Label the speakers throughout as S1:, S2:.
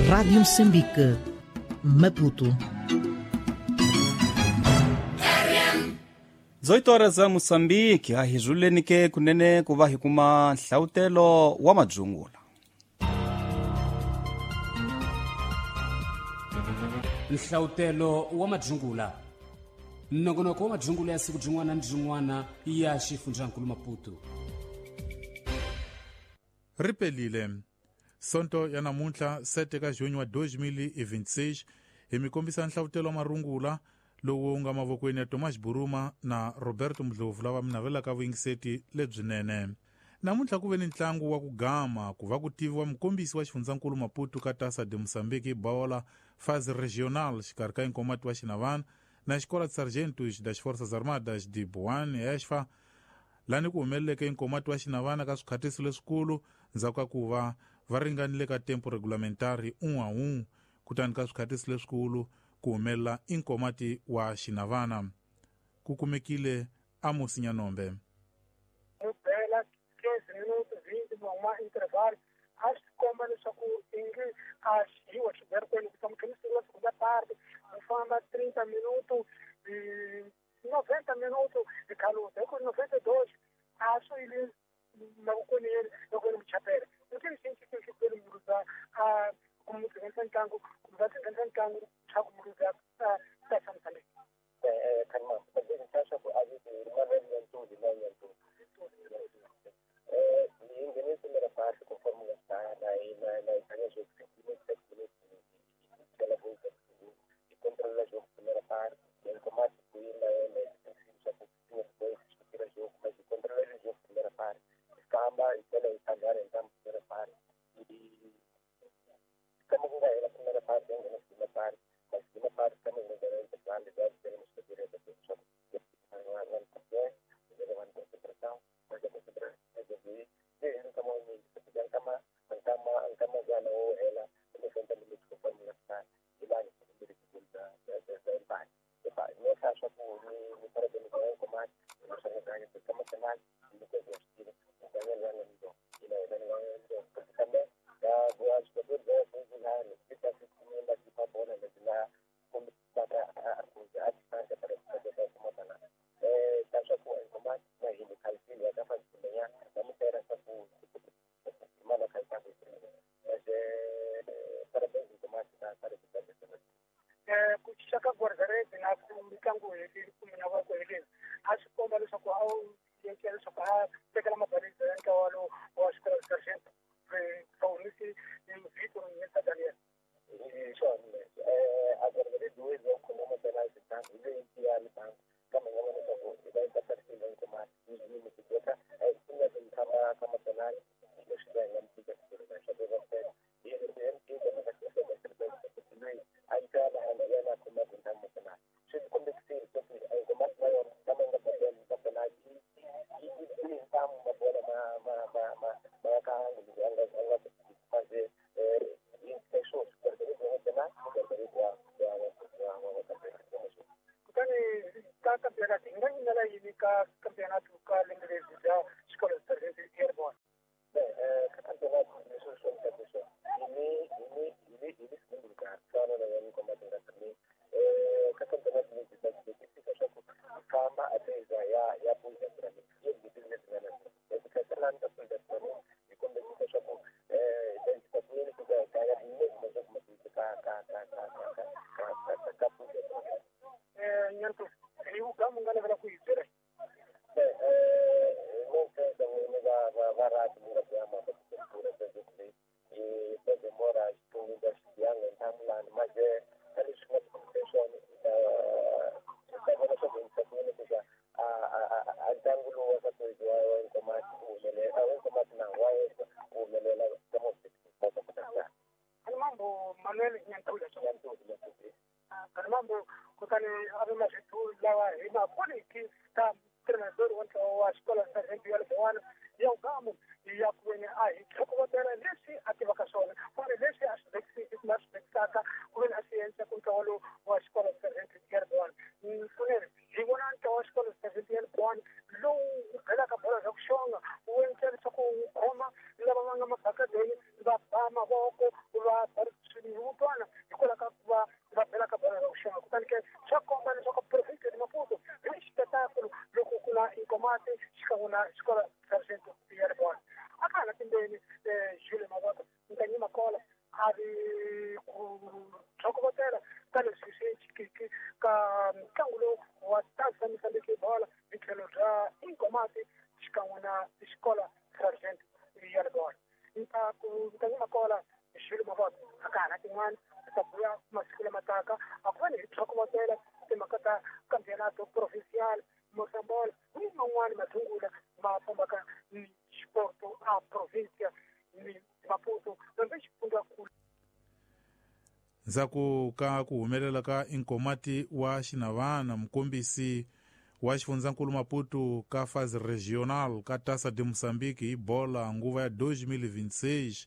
S1: Rádio Moçambique, Maputo.
S2: 18 horas a Moçambique, a hi zuleni ke kunene ku va hi kuma nhlawutelo wa madzungula.
S3: Nhlawutelo wa madzungula. Nongonoko wa madzungula ya siku byin'wana ni byin'wana ya xifundzankulu Maputo.
S4: Ripelile. Sonto ya namuntlha 7 ka junho wa 2026 hi mi kombisa nhlawutelo wa marungula lowu nga mavokweni ya Thomas Buruma na Roberto Mdlovu lava mi navelaka vuyingiseti lebyinene. Namuntlha ku ve ni ntlangu wa ku gama ku va ku tiviwa mukombisi wa xifundzankulu Maputo ka Taça de Moçambique bola fase regional xikarhi ka Inkomati wa Xinavana na Escola de Sargentos das Forças Armadas de Boane ESFA, lani ku humeleleke Inkomati wa Xinavana ka swikhatiso leswikulu ndzhaku ka ku va va ringanile ka tempo regulamentari 1-1, kutani ka swikhatiso leswikulu ku humelela Inkomati wa Xinavana. Ku kumekile Amos Nyanombe.
S5: Mubela 15 minutos 20 ma intervalo a swi komba leswaku ingi a xiwa xiberikweni ku tsamukhemisiwa segunda parte ku famba 30 minutos 90 minutos hi khaluta hi ku 92 a swi yile mavokweni yena loko yena muchapela u xi muluza a kumutsenisa ntlangu kumbe va tsenisa ntlangu swa ku muluza ta Moçambique. mavoko va swivutwana hikwalaho ka ku va va belaka bolo ra ku xava. Kutani ke swa komba leswaku province ya Maputo hi xipetakulu loko ku na Inkomati xikan'we na xikolo Sergeant ya Ribola. A ka ha na timbeni Jules Mavota Nkanyi Makola a ri ku tlhokovotela ka leswi swi xikiki ka ntlangu lowu wa Taza Mozambique bola hi tlhelo bya Inkomati xikan'we na xikolo Sergeant ya Ribola. Nkanyi Makola Jules Mavota a ka ha na tin'wana ta buya masiku lama taka a ku va ni hi tlhokovotela timhaka ta campeonato provincial Mosambola ni man'wani mathungula ma fambaka ni xiporto a provincia ni Maputo hambi xifundzankulu.
S4: Ndzhaku ka ku humelela ka Inkomati wa Xinavana, mukombisi wa xifundzankulu Maputo ka fase regional ka Taça de Moçambique hi bola nguva ya 2026,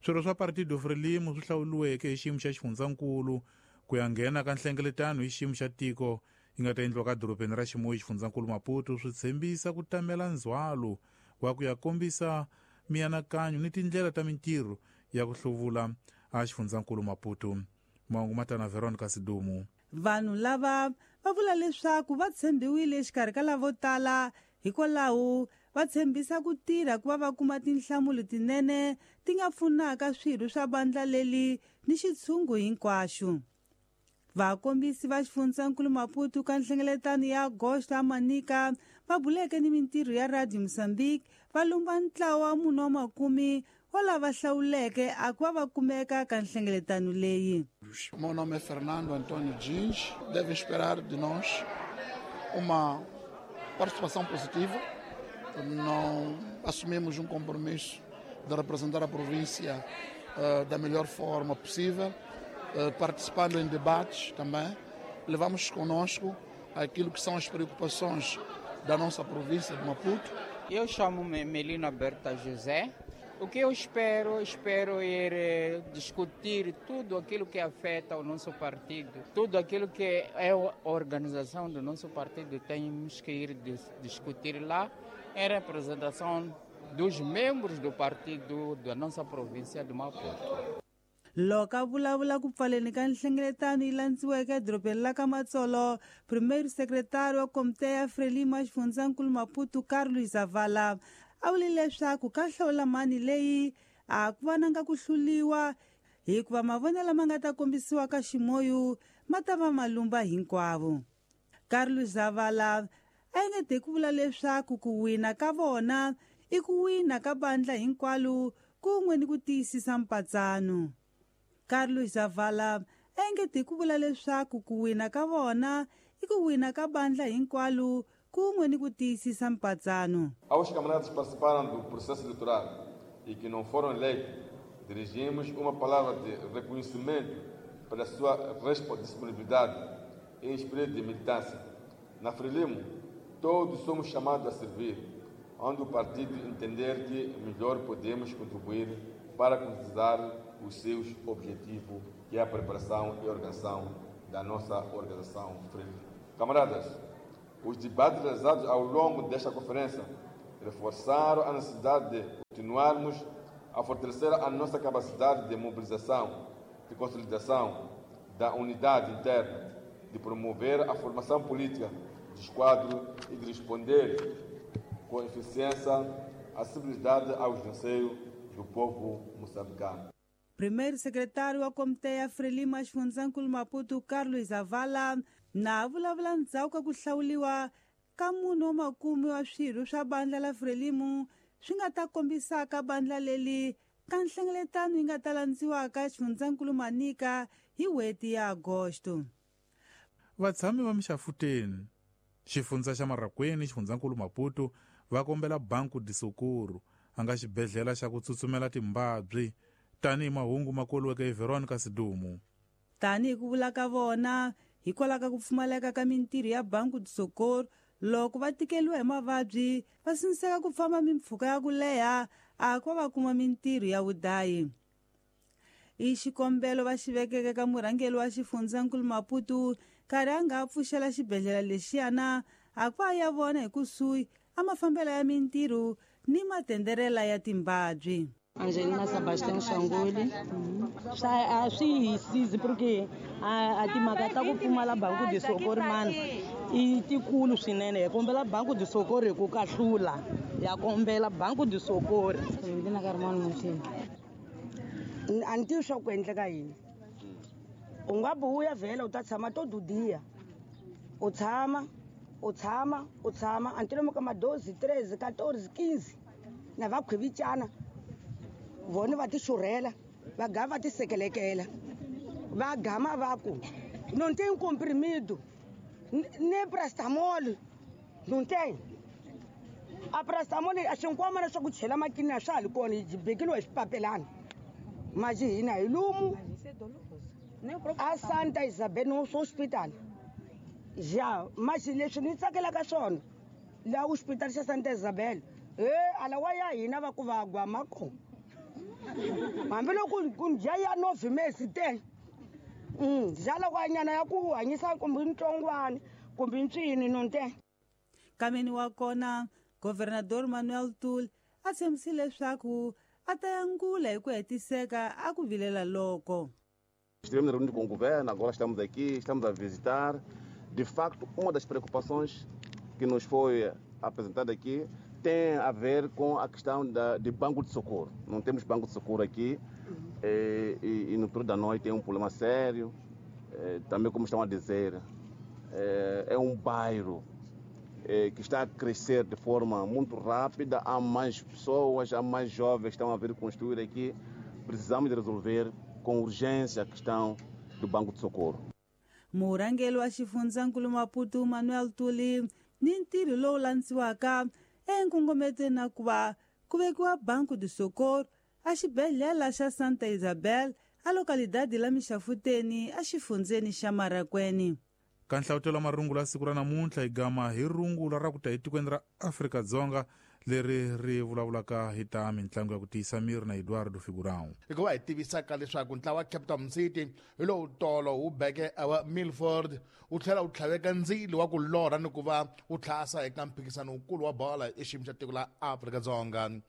S4: swirho swa Partido Frelimo swi hlawuriweke hi xiyimo xa xifundzankulu ku ya nghena ka nhlengeletano hi xiyimo xa tiko yi nga ta endliwa ka dorobeni ra Chimoio xifundzankulu Maputo swi tshembisa ku tamela ndzhwalo wa ku ya kombisa mianakanyo ni tindlela ta mintirho ya ku hluvula a xifundzankulu Maputo. Mahungu matana Veronica Sidumu.
S6: Vanhu lava va vula leswaku va tshembiwile exikarhi ka lavo tala, hikwalaho va tshembisa ku tirha ku va va kuma tinhlamulo tinene ti nga pfunaka swirho swa vandla leli ni xitshungu hinkwaxo. Vakombisi va xifundzankulu Maputo ka nhlengeletano ya Agosto a Manica va buleke ni mintirho ya Radio Mozambique va lumba ntlawa wa munhu wa makume wa lava hlawuleke a ku va va kumeka ka nhlengeletano leyi.
S7: Meu nome é Fernando Antônio Dins. Devem esperar de nós uma participação positiva. Não assumimos um compromisso de representar a província da melhor forma possível, participando em debates também. Levamos conosco aquilo que são as preocupações da nossa província de Maputo.
S8: Eu chamo-me Melina Berta José. O que eu espero ir discutir tudo aquilo que afeta o nosso partido, tudo aquilo que é a organização do nosso partido, temos que ir discutir lá em representação dos membros do partido da nossa província de Maputo.
S6: Loko a vulavula ku pfaleni ka nhlengeletano yi landziweke edorobeni la ka Matsolo, primeiro secretário wa komite ya Frelimo ya xifundzankulu Maputo Carlos Zavala a vule leswaku ka hlawula mani leyi a ku vananga ku hluliwa hikuva mavonelo lama nga ta kombisiwa ka Chimoio ma ta va malumba hinkwavo. Carlos Zavala a engete ku vula leswaku ku wina ka vona i ku wina ka bandla hinkwalo kun'we ni ku tiyisisa mpatsano. Carlos Zavala a engete ku vula leswaku ku wina ka vona i ku wina ka bandla hinkwalo kun'we ni ku tiyisisa mpatsano.
S9: Aos camaradas que participaram do processo eleitoral e que não foram eleitos, dirigimos uma palavra de reconhecimento pela sua disponibilidade e espírito de militância. Na Frelimo, todos somos chamados a servir, onde o partido entender que melhor podemos contribuir para concretizar os seus objetivos, que é a preparação e organização da nossa organização Frelimo. Camaradas, os debates realizados ao longo desta conferência reforçaram a necessidade de continuarmos a fortalecer a nossa capacidade de mobilização, de consolidação da unidade interna, de promover a formação política dos quadros e de responder com eficiência à acessibilidade aos anseios do povo moçambicano.
S6: Primeiro secretário wa komite ya Frelimo ya xifundzankulu Maputo Carlos Zavala na vulavula ndzhaku ka ku hlawuliwa ka munhu wa makume wa swirho swa bandla la Frelimo swi nga ta kombisaka bandla leli ka nhlengeletano yi nga ta landziwaka xifundzankulu Manica hi n'hweti ya Agosto.
S4: Vatshami va Mixafuteni, xifundza xa Marracuene, xifundzankulu Maputo va kombela Banco de Socorro a nga xibedhlele xa ku tsutsumela timbabyi tanihi mahungu ma koliweke hi Veronica Sidumu.
S6: Tanihi ku vula ka vona hikwalaho ka ku pfumaleka ka mintirho ya Banco de Socorro, loko va tikeliwa hi mavabyi va sindziseka ku famba mimpfhuka ya ku leha a ku va kuma mintirho ya vudayi. I xikombelo va xi vekeke ka murhangeri wa xifundzankulu Maputo nkarhi a nga pfuxela xibedhlele lexiyana a ku va ya vona hi kusuhi a mafambelo ya mintirho ni matenderela ya timbabyi.
S10: Angelina Sebastian Shangoli a swi hi sizi porque a timhaka ta ku pfumala Banco de Socorro mani i tikulu swinene. Hi kombela Banco de Socorro hi ku kahlula, ya kombela Banco de Socorro.
S11: A ni tivi swa ku endleka yini. U nga buya vhela u ta tshama to dudiya, u tshama u tshama u tshama a ni ka madozi 13 14 15 na va khwivicana vona va ti xurhela va gama va ti sekelekela va gama va ku não tem comprimido nem paracetamol, não tem a paracetamol. A xinkwamana swa ku chela makini a swa ha li kona, hi bekeliwa hi swipapelana maji hina hi lumu a Santa Isabel Hospital. Ja maji leswi ni tsakelaka swona laha hospital xa Santa Isabel e alawa ya hina va ku va gwama kona hambiloko ku dya ya novhimesi te dya ya ku hanyisa kumbe ntsongwana kumbe ntswini nonte.
S6: Kameni wa kona Governador Manuel Tul a tshembisile leswaku a ta yangula hi ku hetiseka a ku vilela loko.
S9: Estivemos reunidos com o governo, agora estamos aqui, estamos a visitar. De facto, uma das preocupações que nos foi apresentada aqui tem a ver com a questão de banco de socorro. Não temos banco de socorro aqui e no período da noite é um problema sério. Também, como estão a dizer, é um bairro que está a crescer de forma muito rápida. Há mais pessoas, há mais jovens que estão a vir construir aqui. Precisamos de resolver com urgência a questão do banco de socorro.
S6: Murhangeri wa xifundzankulu Maputo Manuel Tuli ni ntirho lowu landziwaka enkongometweni na ku va ku vekiwa Banco de Socorro a xibedhlele xa Santa Isabel a localidade la Mixafuteni a xifundzeni xa Marakweni.
S4: Ka nhlavutelo wa marungula ya siku ra namuntlha hi gama hi rungula ra ku ta etikweni ra Afrika-Dzonga leri ri vulavulaka hi ta mintlangu ya ku tiyisa miri na Eduardo Figurão.
S7: Hikuva hi tivisaka leswaku ntlawa wa Cape Town City hi lowu tolo wu beke wa Milford wu tlhela wu tlhaveka ndzilo wa ku lorha ni ku va wu tlhasa eka mphikizano wukulu wa bola exiyimo xa tiko la Afrika-Dzonga.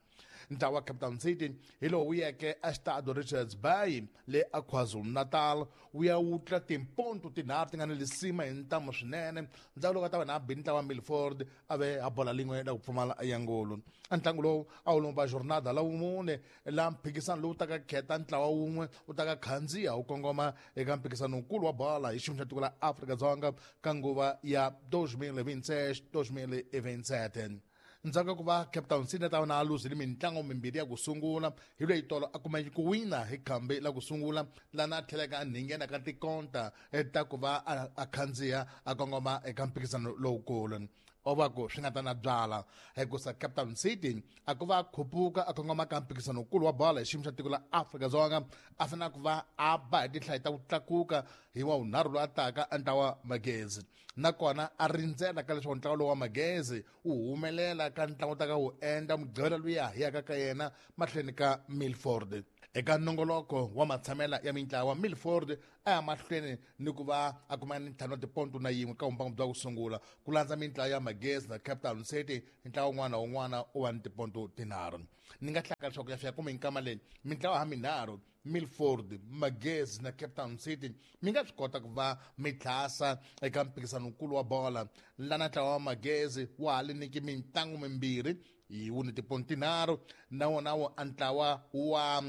S7: Ntlawa wa Cape Town City hi lowu wu yeke eStade Richards Bay le a KwaZulu-Natal wu ya wutla timponto tinharhu ti nga ni lisima hi ntamu swinene. Ndzhaku loko a ta va na bi ntlawa wa Milford a ve a bola lin'we la ku pfumala ya ngolo. A ntlangu lowu a wu lomba jornada la wumune la mphikizano lowu taka kheta ntlawa wun'we wu taka khandziya wu kongoma eka mphikizano wukulu wa bola hi xiyimo xa tiko la Afrika-Dzonga ka nguva ya 2026 2027. Ndzhaku ka ku va Cape Town City ta vona a luzile mintlangu mimbirhi ya ku sungula hi loyi tolo a kumeke ku wina hi khambi la ku sungula lana a tlhelaka a nghena ka tikonta ta ku va a khandziya a kongoma eka mphikizano lowukulu. O va ku swi nga ta na byala hikusa Cape Town City a ku va a khupuka a kongoma ka mphikizano wukulu wa bola hi xiyimo xa tiko la Afrika-Dzonga a fanele ku va a ba hi tinhlayo ta ku tlakuka hi wa wunharhu lowu a taka a ntlawa Magezi nakona a rindzela ka leswaku ntlawa lowu wa Magezi wu humelela ka ntlangu ta ka wu endla mugqivela luya hi yaka ka yena mahlweni ka Milford. Eka nongoloko wa matshamela ya mintlawa Milford a ya mahlweni ni ku va a kuma ni ntlhanu wa tiponto na yin'we ka vumbangu bya ku sungula ku landza mintlawa ya Magezi na Cape Town City. Ntlawa wun'wana na wun'wana u va ni tiponto tinharhu. Ni nga hlaka leswaku ya fika kumbe nkama leyi mintlawa ha minharhu Milford, Magezi na Cape Town City mi nga swi kota ku va mi tlhasa eka mphikizano wukulu wa bola lana ntlawa wa Magezi wa ha li nyiki mintlangu mimbirhi hi wu ni tiponto tinharhu na wona wo a ntlawa wa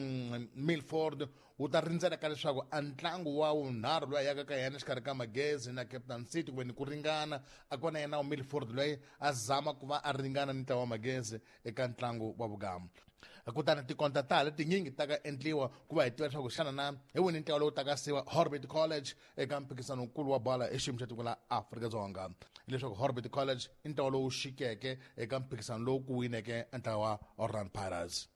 S7: Milford wu ta rindzela ka leswaku a ntlangu wa wunharhu loyi a yaka ka yena exikarhi ka Magezi na Cape Town City kumbe ni ku ringana a kona yena wa Milford loyi a zama ku va a ringana ni ntlawa wa Magezi eka ntlangu wa vugamu. Kutani tikonta ta ha tinyingi ta ka endliwa ku va hi tiva leswaku xana na hi wini ntlawa lowu taka siwa Orbit College eka mphikizano wukulu wa bola exiyimo xa tiko la Afrika-Dzonga. Hileswaku Orbit College i ntlawa lowu xikeke eka mphikizano lowu ku wineke ntlawa wa Orlando Pirates.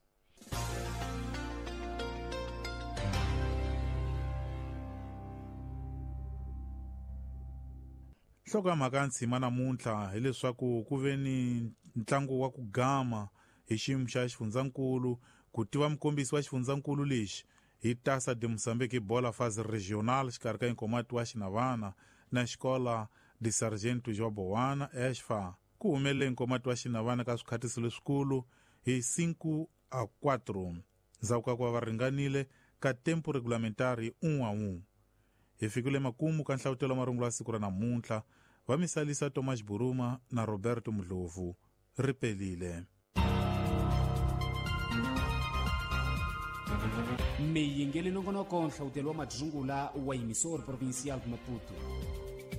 S4: Nhloko ya mhaka ya ntshima namuntlha hileswaku ku ve ni ntlangu wa ku gama hi xiyimo xa xifundzankulu ku tiva mukombisi wa xifundzankulu lexi hi Taça de Moçambique bola fase regional xikarhi ka Nkomati wa Xinavana na Escola de Sargento João Bowana ESFA. Ku humelele Nkomati wa Xinavana ka swikhatiso leswikulu hi 5-4. Ndzhaku ka ku va va ringanile ka tempo regulamentari 1-1. Hi fikile makumu ka nhlavutelo wa marungula ya siku ra namuntlha. Va misalisa Thomas Buruma na Roberto Mdlovu. Ri pelile.
S3: Miyingeli nongonoko nhlavutelo wa madzungula wa Emissor Provincial de Maputo.